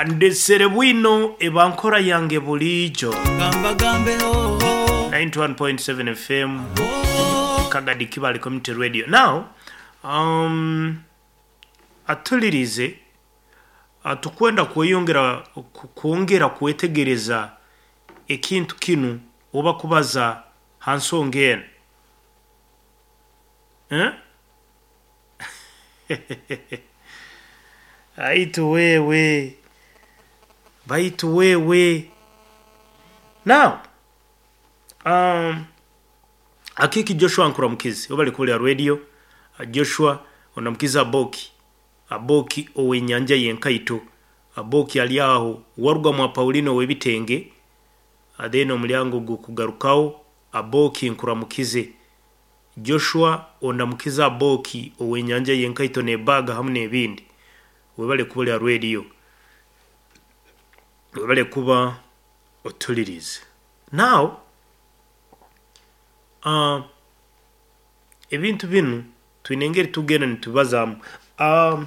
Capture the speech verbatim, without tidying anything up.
Andesere bwino eba nkora yange bulijo. Gamba gambe oh, oh, ninety-one point seven F M oh. Kagadi Kibale Community Radio. Now, um, atulirize atukwenda kweyongera kwongera kwetegereza ekintu kinu oba kubaza hansonga eno. Eh? Aitu wewe. Baitu wewe. Now, um, akiki Joshua nkuramukizi oba likulya radio Joshua onamukiza Aboki. Aboki owenyanja yenkaito. Aboki ali aho waruga mwa Paulino webitenge adeno omulyango gukugarukawo. Aboki nkuramukize. Joshua onamukiza Aboki owenyanja yenkaito nebaga hamu nebindi. Webale kubulya radio. Webale kuba otulirize. Now, uh, ebintu binu twine engeri tugenda nitubazamu. Um,